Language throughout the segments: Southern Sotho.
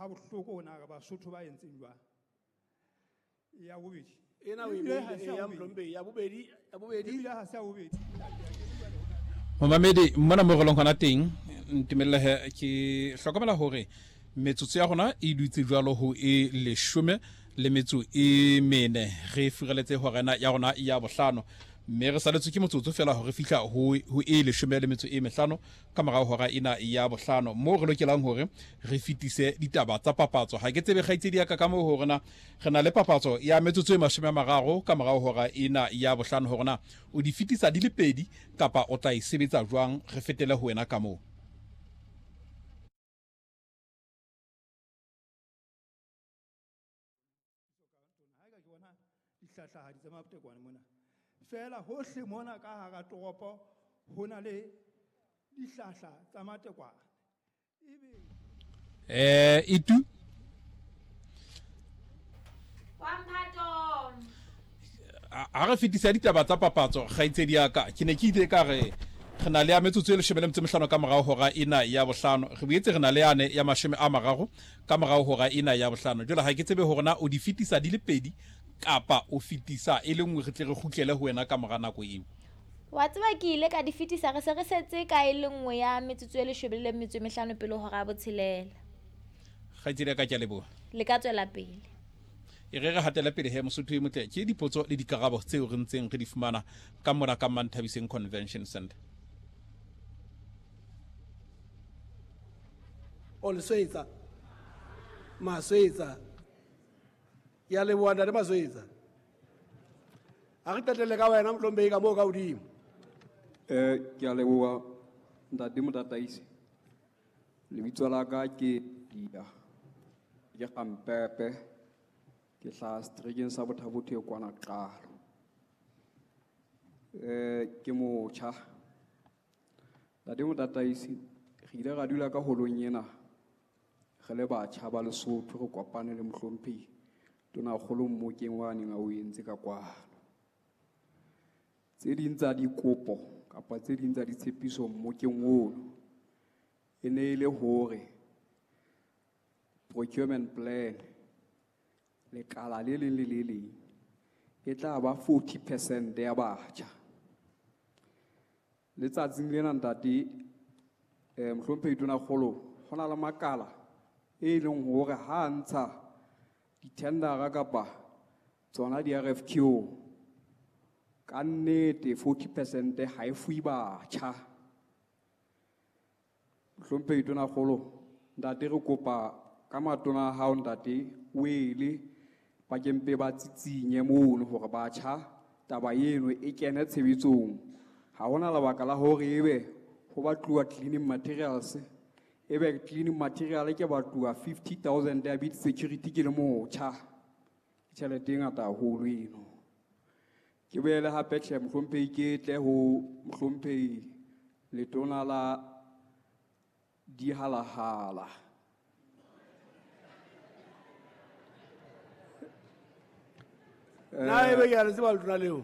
Ha bohloko na re Basotho ba entseng jwang. Ya bobedi. Ena o e Ebile ha beile se ya ya bobedi. Mlomphehi ya bobedi ya bobedi. Ebile ha se ya bobedi. Momamedi, mona mo re leng gona teng, ntumelele ke hlokomela hore metsotso ya rona e dutse jwalo ho e 14 re furaletse horena ya rona ya bohlano, mme re saletswe ke motsotso fela hore fihla ho e 15 ka morao hora ena ya bohlano, moo re lokelang hore re fetise ditaba tsa papatso. Ha ke tsebe kgaitsedi ya ka ka moo hore na re na le papatso ya metsotso e 30 ka morao hora ena ya bohlano, hore na o di fetisa di le pedi kapa o tla e sebetsa jwang. Re fetele ho wena ka moo. Dihlahlahadi tsa matekwane mona. Feela hohle mona ka hara toropo ho na le dihlahla tsa matekwane. Ebe Itu Wa Mphato. Ha re fetisa ditaba tsa papatso, kgaitsedi ya ka, ke ne ke ile ka re re na le ya metsotso e 15 ka morao hora ena ya bohlano. Re boetse re na le yane ya 30 ka morao hora ena ya bohlano. Jwale ha ke tsebe hore na o di fetisa di le pedi kapa o fetisa e le nngwe, re tle re kgutlele ho wena ka mora nako eo. Wa tseba ke ile ka di fetisa, re se re setse ka e le nngwe ya metsotso e 15 pele hora ya botshelela. Kgaitsedi ya ka, ke a leboha. Le ka tswela pele. E re re hatele pele he, Mosotho e motle, ke dipotso le dikarabo tseo re ntseng re di fumana ka mona ka Manthabiseng Convention Center. O Leswetsa. Maswetsa. Ke a leboha ntate Maswetsa. Ha re qetelle ka wena Mlomphehi ka moo ka hodimo. Ke a leboha ntate Motataisi. Lebitso la ka ke Dia. Ke Gampepe. Ke hlaha seterekeng sa Botha-Bothe kwana Qalo. Ke motjha. Ntate Motataisi, re ile ra dula ka holong ena re le batjha ba Lesotho, re kopane le mohlomphehi Tonakgolo mmokeng wa neng a o entse ka kwano. Tse ding tsa dikopo kapa tse ding tsa ditshepiso mmokeng ono e ne e le hore procurement plan lekala le leng le le leng e tla ba 40% ya batjha. Letsatsing lena ntate, mohlomphehi Tonakgolo, ho na le makala e leng hore ha ntsha di-tendera kapa tsona di-RFQ, ka nnete 40% ha e fuwe batjha. Mohlomphehi Tonakgolo, ntate re kopa ka matona a hao ntate o ele ba ke mpe ba tsitsinye mono hore batjha taba eno e kene tshebetsong. Ha hona lebaka la hore ebe ho batluwa cleaning materials, ebe cleaning material ke batluwa 50,000 ya bid security ke le motjha. Ke tjhelete e ngata haholo eno. Ke boele hape tjhe mohlomphehi ke tle ho mohlomphehi letona la dihalahala. Na ebe ke a le tseba letona leo?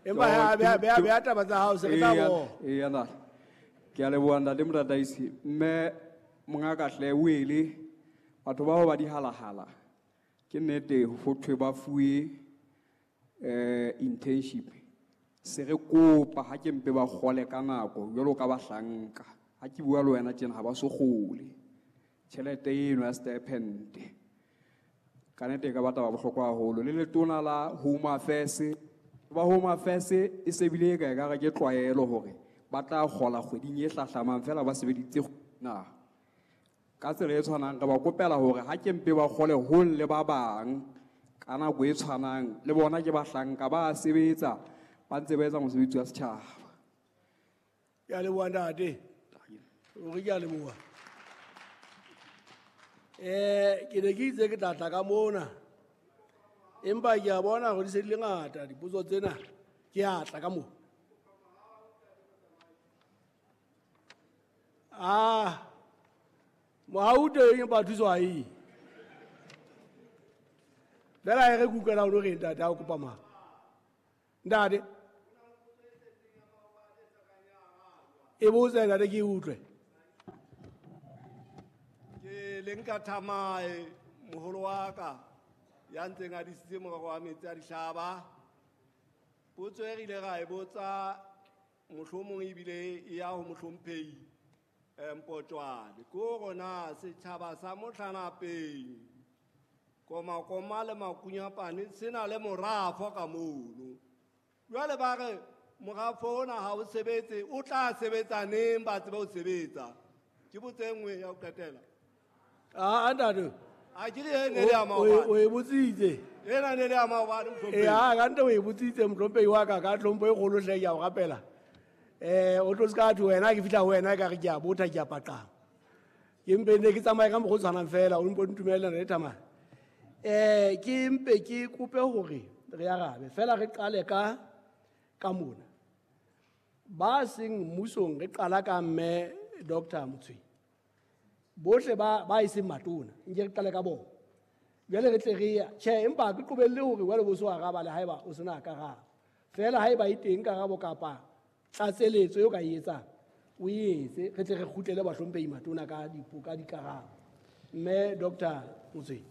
Empa ha beha taba tsa hao, se re tla bona. Eya, ntate. Ke a leboha ntate Motataisi. Mme mongaka hle o ele batho bao ba dihalahala. Ke nnete ho thwe ba fuwe internship. Se re kopa ha ke mpe ba kgole ka nako jwalo ka bahlanka. Ha ke bua le wena tjena ha ba so kgole. Tjhelete eno ya stipend. Ka nnete e ka ba taba bohlokwa haholo. Le letona la Home Affairs, ba Home Affairs e se bile e ka ekare ke tlwaelo hore ba tla kgola kgweding e hlahlamang fela ba sebeditse na. Ka tsela e tshwanang re ba kopela hore ha ke mpe ba kgole hong le ba bang ka nako e tshwanang, le bona ke bahlanka ba sebetsa ba ntse ba etsa mosebetsi wa setjhaba. Ke a leboha ntate. Ruri ke a leboha. Ke ne ke itse ke tla tla ka mona. Empa ke a bona hore di se di le ngata dipotso tsena. Ke a tla ka moo. Mohau teng empa thuso ha e. Fela e re ke utlwela o lo reng ntate ha o kopa mang? Ntate. E botse ntate ke utlwe. Lenka Thamae, moholo wa ka, ya ntseng a disitse morero wa metsi a dihlaba. Potso e re ile ra e botsa mohlomong ebile e ya ho mohlomphehi Mpotjwane. Ke hore na setjhaba sa Mohlanapeng, Komakoma le Makunyapane se na le morafo ka mono. Jwale ba re morafo ona ha o sebetse, o tla sebetsa neng ba tsebe ho sebetsa? Ke potso e nngwe ya ho qetela. A ntate. A ke re e ne le ya O maobane. e botsitse. Ena ne le ya maobane, mohlomphehi. Ee, a ka nte o e botsitse mohlomphehi wa ka ka tlhompho e kgolo hle, ke a o rapela. O tlo se ka thwe wena ke fihla ho wena ka re ke a botha, ke a paqama. Ke mpe ne ke tsamaye ka mokgwa o tshwanang fela, o mpo ntumellana le thamane. Ke mpe ke kope hore re arabe fela, re qale ka mona. Ba seng mmusong re qala ka mme Doctor Motshweng. Bohle ba e seng matona, nke re qale ka bona. Jwale re tle re ya, tjhe, empa ha ke qobelle hore jwale bo so araba le haeba o sena karabo. Fela haeba e teng karabo kapa tlatseletso eo ka e etsang, o e etse, re tle re kgutlele bahlomphehi matona ka dikarabo. Mme Doctor Motshweng.